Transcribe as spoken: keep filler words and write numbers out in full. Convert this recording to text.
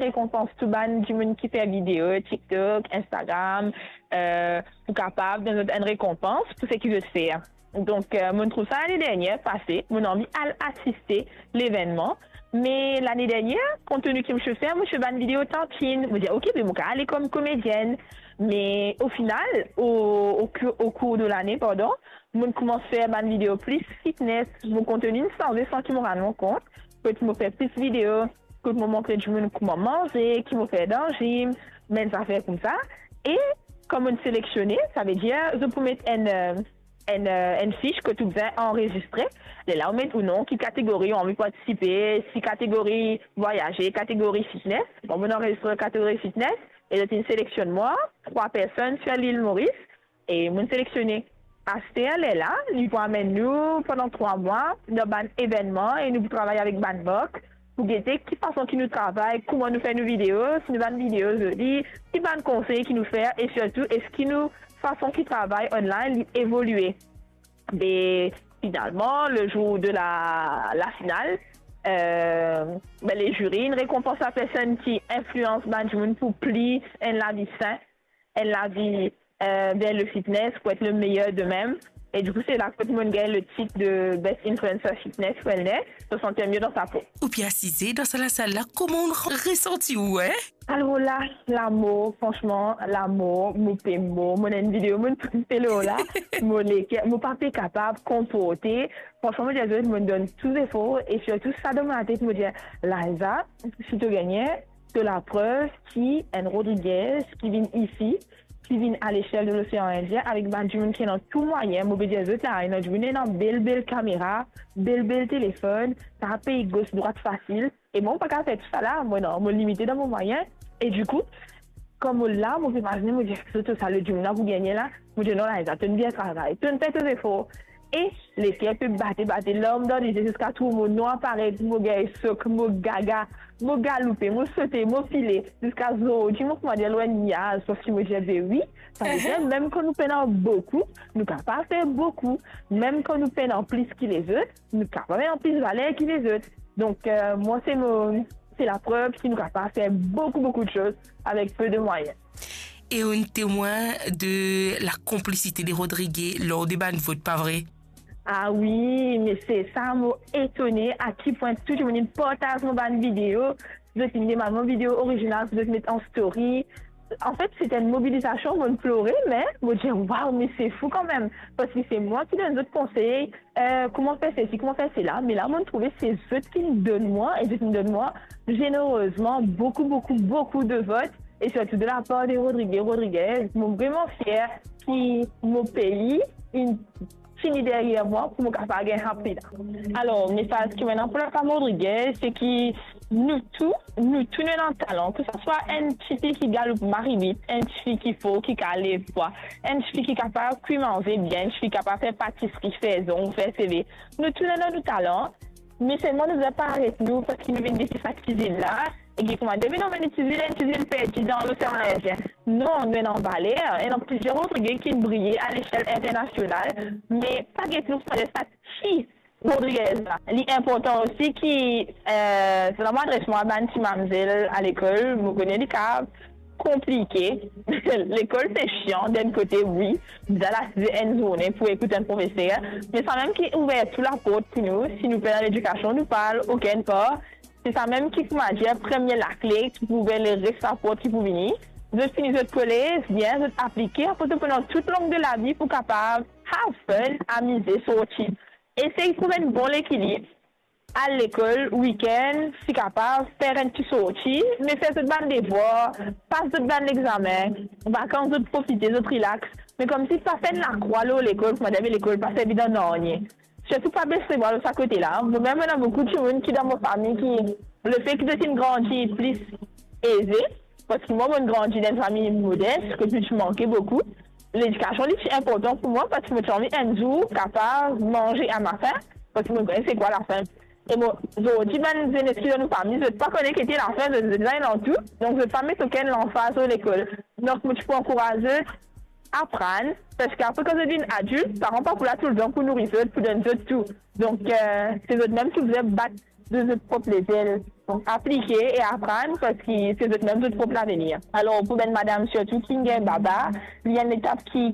rekonpans tou bann dimoun ki fer video TikTok, Instagram, eh, pou kapav donn zot enn rekonpans pou seki zot fer. Donk, eh, mo'nn trouv sa lane dernie pase, mo'nn anvi al asiste levennman. Me lane dernie, kont tenu ki mo ti fer, mo ti fer bann video tantine. Mo dir, "Ok, be mo kav ale kom komedienn." Me o final, o, o kou-, o kour de lane, pardon, mo'nn koumans fer bann video plis fitness. Mo konteni inn sanze san ki mo rann mwa kont. Kot mo fer plis video, kot mo montre dimoun kouma manze, ki mo fer dan gym, bann zafer koumsa. E kan mo'nn selektione, savedir zot pou met enn, eh, enn, eh, enn fis kot ou bizin anrezistre. Lerla ou met ou non, ki kategori ou anvi partisipe, si kategori vwayaze, kategori fitness. Bon, mo'nn anrezistre kategori fitness e zot inn seleksionn mwa, trwa personn sir lil Moris. E mo'nn selektione. Aster lerla, li pou amenn nou pandan trwa mwa dan bann evennman e nou pou travay avek bann mark pou gete ki fason ki nou travay, kouma nou fer nou video, si nou bann video zoli, ki bann konsey ki nou fer e sirtou eski nou fason ki travay online li evolie. Be finalman, le zour de la, la final, eh, be, le ziri inn rekonpans lapersonn ki inflians bann dimoun pou plis enn lavi sin, enn lavi, eh, vers le fitness, pou et le meyer de mem. E dikou, se la kot mo'nn gagn le tit de Best Influencer Fitness Wellness, so santi mie dan sa po. Ou pe asize dan sa lasal la, kouma ou resanti ou, eh? Alor la, lamor, fransman, lamor, mo pe mor. Mo ena enn video mo'nn poste lor la, mo leker, mo pa pe kapav konporte. Fransman, mo dir zot, mo'nn donn tou zefor e sirtou sa dan mo latet, mo dir, Liza, si to gagne, to laprev ki enn Rodriguez ki vinn isi, ki vinn a lesiel de Losean Indien avek bann dimoun ki ena tou mwayin, mo pe dir zot la, ena dimoun ena bel, bel kamera, bel, bel telefonn, kapav pey gos, drwat fasil. E mwa, mo pa kapav fer tousala, mo non, mo limite dan mo mwayin. E dikou, kan mo la, mo pe imazine, mo dir, "Kouma sa lot dimoun la pou gagne la?" Mo dir, "Non, Liza, to'nn bien travay, to'nn fer to zefor." E leker pe bate, bate, larm dan lizie, ziska trouv mo nwa paret, mo gagn sok, mo gaga, mo galoupe, mo sote, mo pile, ziska zordi mo kouma dir lor enn niaz, parski mo dir, "Be wi, savedir mem kan nou pena boukou, nou kapav fer boukou. Mem kan nou pena plis ki lezot, nou kapav ena plis valer ki lezot." Donk, eh, mwa, se mo, se laprev ki nou kapav fer boukou, boukou de soz avek pe de mwayin. E ou enn temwin de lakonplisite de Rodriguez lor de bann vot, pa vre? Ah wi, me se sa, mo etone a ki pwin tou dimoun inn partaz mo bann video, zot inn demann mo video orizinal pou zot met an story. Anfet, se ti enn mobilizasion, mo'nn plore, me mo dir, "Waw, me se fou kanmem." Parski se mwa ki donn zot konsey, eh, kouma fer sesi, kouma fer sela, me la, mo'nn trouve se zot ki donn mwa, e zot inn donn mwa zenerezman boukou, boukou, boukou de vot, e sirtou de lapar de Rodriguez, Rodriguez. Mo vreman fier ki mo pei inn fini deryer mwa pou mo kapav gagn sa pri la. Alor, mesaz ki mo ena pou lafam Rodriguez, se ki nou tou, nou tou nou ena talan, ke sa swa enn tifi ki galoup mari vit, enn tifi ki for, ki kapav lev pwa, enn tifi ki kapav kwi manze bien, enn tifi ki kapav fer patisri, fer zong, fer seve. Nou tou nou ena nou talan, me selman nou bizin pa aret nou, parski nou vinn desi sa kizinn la, e ki kouma dir, "Me non, mo inn itiliz enn kizinn perdi dan Losean Indien." Non, nou ena valer, ena plizier Rodriguez ki briye a lesiel internasional, me pa get nou pou sa ti Rodriguez la. Li inportan osi ki, eh, sa mo adres mwa a bann ti mamzel a lekol, mo kone li kapav konplike. Lekol se sian, d'enn kote, wi, bizin asize enn zourne pou ekout enn profeser, me sa mem ki ouver tou laport pou nou, si nou pena ledikasion, nou pa al okenn par. Se sa mem ki, kouma dir, premie lakle ki pou ouver leres laport ki pou vini. Zot fini zot kolez, bien, zot aplike, apre zot pran tou long de lavi pou kapav have fun, amize, sorti. Esey trouv enn bon lekilib. Al lekol, wikenn, si kapav, fer enn ti sorti, me fer zot bann devwar, pas zot bann lexame, vakans zot profite, zot relax. Me koumsi pa fer enn lakrwa lor lekol, kouma dir, me lekol pa servi dan nanye. Sirtou pa bes lebra lor sa kote la. Mo mem, ena boukou dimoun ki dan mo fami ki, lefe ki zot inn grandi plis eze, parski mwa, mo'nn grandi dan enn fami modes, kot nou ti manke boukou. Ledikasion, li ti inportan pou mwa, parski mo ti anvi enn zour kapav manze a ma fin, parski mo konn se kwa lafin. E mo, zordi, bann zenes ki dan nou fami, zot pa kone ki ete lafin, zot, zot ena tou, donk zot pa met okenn lanfaz lor lekol. Donk, mo ti pou ankouraz zot, aprann, parski apre, kan zot vinn adilt, paran pa pou la toultan pou nouri zot, pou donn zot tou. Donk, eh, se zot mem ki bizin bat de zot prop lezel. Donk, aplike e aprann, parski se zot mem zot prop lavenir. Alor, pou bann madam sirtou ki gagn baba, li enn letap ki